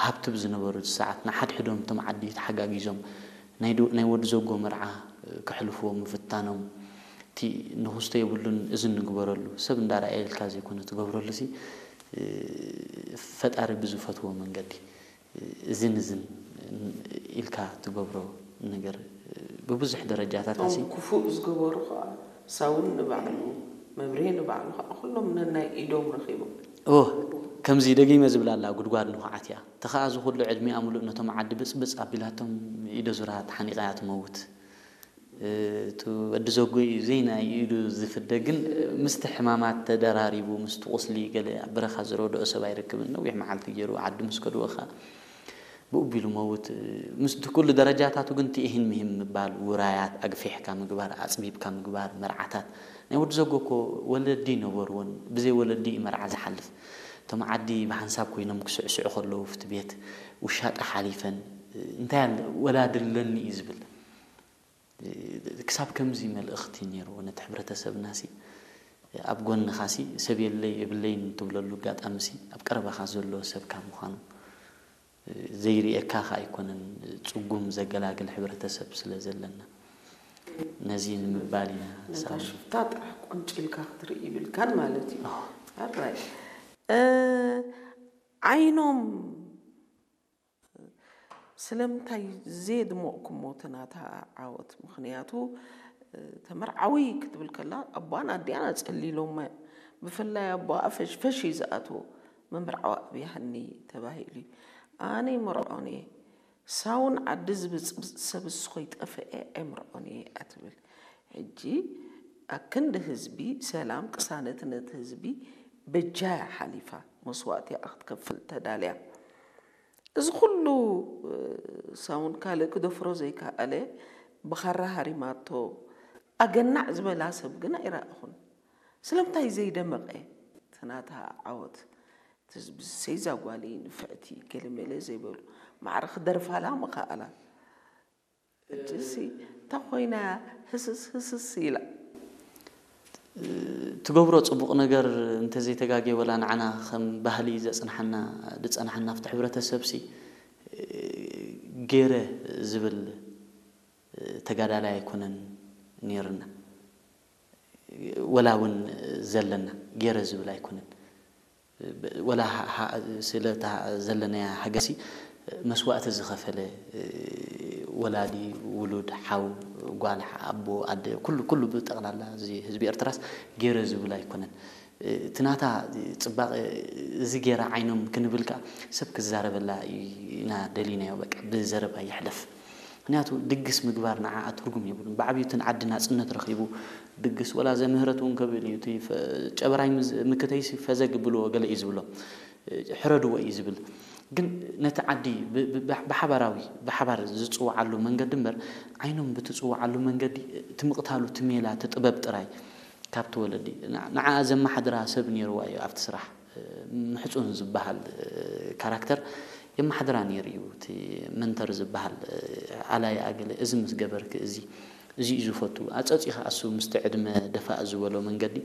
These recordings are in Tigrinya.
ሃብቲ ብዝነበሩ ሰዓት ንሓድሕዶም እቶም ዓዲ ተሓጋጊዞም ናይ ዶ- ናይ ወዲ ዘጎ መርዓ ክሕልፍዎ ምፍታኖም፣ እቲ ንኽስቶ የብሉን፣ እዚ ንግበረሉ፣ ሰብ እንዳረኣየ ኢልካ ዘይኮነ ትገብረሉ ሲ ፈጣሪ ብዝፈትዎ መንገዲ እዝን እዝን ኢልካ ትገብሮ ነገር ብብዙሕ ደረጃታት እቶም ሲ ክፉእ ዝገበሩ ከዓ ሳውን ንባዕሉ መብሬ ንባዕሉ ከዓ ኩሎም ነናይ ኢዶም ረኺቦም ኦ ከምዚ ደጊመ ዝብላ ኣላ፣ ጉድጓድ ንኹዓት እያ። ተኸኣ ዝኹሉ ዕድሚኣ ምሉእ ነቶም ዓዲ ብጽብጽ ኣቢላቶም ኢደ ዙራ ተሓኒቓ እያ ትመውት። እቲ ወዲ ዘጎ እዩ ዘይናይ ኢዱ ዝፍደ፣ ግን ምስቲ ሕማማት ተደራሪቡ ምስቲ ቁስሊ ገለ ኣብ በረኻ ዝረድኦ ሰብ ኣይረክብን። ነዊሕ መዓልቲ ገይሩ ዓዲ ምስ ከድወኻ ብኡ ቢሉ መውት። ምስቲ ኩሉ ደረጃታቱ ግን እቲ ኢሂን ምሂን ምባል፣ ውራያት ኣግፊሕካ ምግባር፣ ኣጽቢብካ ምግባር፣ መርዓታት ናይ ወዲ ዘጎ እኮ ወለዲ ነበርዎን፣ ብዘይ ወለዲ እዩ መርዓ ዝሓልፍ። እቶም ዓዲ ብሓንሳብ ኮይኖም ክስዕስዑ ከለዉ ኣብቲ ቤት ውሻጠ ሓሊፈን እንታይ ኣለ ወላዲ ኣለኒ እዩ ዝብል። ክሳብ ከምዚ መልእኽቲ ነይርዎ ነቲ ሕብረተሰብና ሲ ኣብ ጎንኻ ሲ ሰብ የለይ የብለይን ትብለሉ ኣጋጣሚ ሲ ኣብ ቀረባኻ ዘሎ ሰብካ ምዃኑ ዘይርእየካ ከ ኣይኮነን፣ ጽጉም ዘገላግል ሕብረተሰብ ስለ ዘለና ነዚ ንምባል ኢና ነታ ሳሚ። ሽፍታ ጥራሕ ቆንጭልካ ክትርኢ ይብልካን ማለት እዩ ኣራይ እ ዓይኖም ስለምንታይ ዘየድመቕኩሞ እቲ ናታ ዓወት ምኽንያቱ ተመርዓዊ ክትብል ከላ ኣቦኣን ኣዲኣን ኣጸሊሎማ ብፍላይ ኣቦኣ ፈሽ ፈሽ እዩ ዝኣትዎ መምርዓዊ ኣብያሃኒ ተባሂሉ እዩ ኣነ ይመርዖን እየ ሳውን ዓዲ ዝብጽብጽ ሰብ እሱ ኸይጠፍአ ኣይምርዖን እየ እያ ትብል ሕጂ ኣክንዲ ህዝቢ ሰላም ቅሳነት ነቲ ህዝቢ በጃ እያ ሓሊፋ መስዋእቲ እያ ክትከፍል ተዳልያ እዚ ኩሉ ሳውን ካልእ ክደፍሮ ዘይከኣለ ብኻራ ሃሪማቶ ኣገናዕ ዝበላ ሰብ ግን ኣይረኣኹን ስለምንታይ ዘይደመቐ እቲ ናታ ዓወት እቲ ህዝቢ ሰይዛ ጓሊ ንፍዕቲ ገለመለ ዘይበሉ ማዕረ ክደርፋላ ምኸኣላ ሕጂሲ እታ ኮይና ህስስ ህስስ ኢላ ትገብሮ ጽቡቕ ነገር እንተዘይተጋግየ ወላ ንዓና ከም ባህሊ ዘጽንሓና ዝጸንሓና ኣብቲ ሕብረተሰብ ሲ ገይረ ዝብል ተጋዳላይ ኣይኮነን ነይርና ወላ እውን ዘለና ገይረ ዝብል ኣይኮነን ወላ ስለ ዘለናያ ሃገሲ መስዋእቲ ዝኸፈለ ወላዲ ውሉድ ሓው ጓል ኣቦ ኣደ ኩሉ ኩሉ ብጠቕላላ እዚ ህዝቢ ኤርትራስ ገይረ ዝብል ኣይኮነን እቲ ናታ ፅባቐ እዚ ገይራ ዓይኖም ክንብል ከዓ ሰብ ክዛረበላ ኢና ደሊናዮ በቃ ብዘረባ ይሕለፍ ምክንያቱ ድግስ ምግባር ንዓኣ ትርጉም የብሉን። ብዓብዩ እቲ ዓዲ ናፅነት ረኺቡ ድግስ ወላ ዘምህረት እውን ከብል እዩ። እቲ ጨበራይ ምክተይሲ ፈዘግ ብልዎ ገለ እዩ ዝብሎ። ሕረድዎ እዩ ዝብል። ግን ነቲ ዓዲ ብሓባራዊ ብሓባር ዝፅውዓሉ መንገዲ እምበር ዓይኖም ብትፅውዓሉ መንገዲ እቲ ምቕታሉ እቲ ሜላ እቲ ጥበብ ጥራይ ካብቲ ወለዲ ንዓኣ ዘመሓድራ ሰብ ነይርዋ እዩ ኣብቲ ስራሕ። ምሕፁን ዝበሃል ካራክተር የመሓድራ ነይሩ እዩ። እቲ መንተር ዝበሃል ኣላይኣ ገለ እዚ ምስ ገበርኪ እዚ እዚ እዩ ዝፈቱ። ኣፀፂ ከዓ እሱ ምስቲ ዕድመ ደፋእ ዝበሎ መንገዲ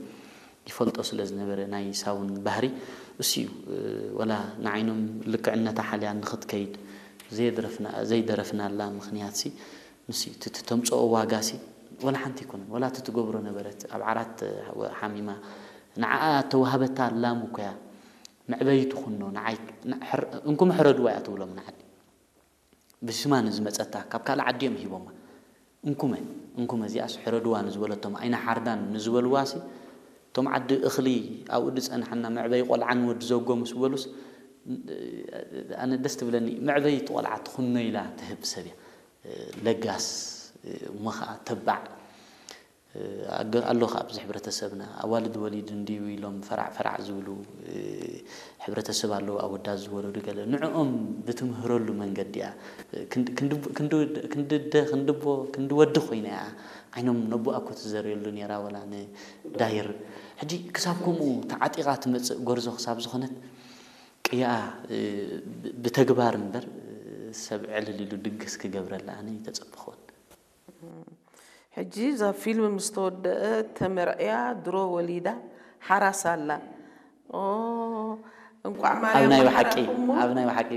ይፈልጦ ስለ ዝነበረ ናይ ሳውን ባህሪ እሱ እዩ። ወላ ንዓይኖም ልክዕነታ ሓልያ ንኽትከይድ ዘይደረፍናላ ምኽንያትሲ ንሱ እዩ። እቲ ተምፅኦ ዋጋሲ ወላ ሓንቲ ኣይኮነን። ወላ እቲ ትገብሮ ነበረት ኣብ ዓራት ሓሚማ ንዓኣ እተዋህበታ ላም እኮ እያ። መዕበይቱ ኩኖ ንዓይ እንኩም ሕረድዋ እያ ትብሎም ንዓዲ ብስማ ንዝመፀታ ካብ ካልእ ዓዲ እዮም ሂቦማ እንኩመ እንኩመ እዚኣስ ሕረድዋ ንዝበለቶም ኣይንሓርዳን ንዝበልዋሲ እቶም ዓዲ እኽሊ ኣብኡ ዝፀንሓና መዕበይ ቆልዓ ንወዲ ዘጎ ምስ በሉስ ኣነ ደስ ትብለኒ መዕበይቲ ቆልዓ ትኹኖ ኢላ ትህብ ሰብ እያ ለጋስ እሞ ከዓ ተባዕ ኣሎ ከዓ ኣብዚ ሕብረተሰብና ኣዋልድ ወሊድ እንድዩ ኢሎም ፈራዕ ፈራዕ ዝብሉ ሕብረተሰብ ኣለዉ ኣወዳት ዝወለዱ ገለ ንዕኦም ብትምህረሉ መንገዲ እያ ክንድደ ክንድቦ ክንድወዲ ኮይና እያ ዓይኖም ነቦኣ እኮ ትዘርየሉ ነይራ ወላ ንዳይር ሕጂ ክሳብ ከምኡ ተዓጢቓ ትመፅእ ጎርዞ ክሳብ ዝኾነት ቅያኣ ብተግባር እምበር ሰብ ዕልል ኢሉ ድግስ ክገብረላ ኣነ ይተፀበኹን ሕጂ እዛ ፊልም ምስ ተወደአ ተመርዕያ ድሮ ወሊዳ ሓራስ ኣላ። ኦ፣ እንቋዕ ኣብ ማርያም ናይ ብሓቂ ኣሓራኹሞ። ኣብ ናይ ብሓቂ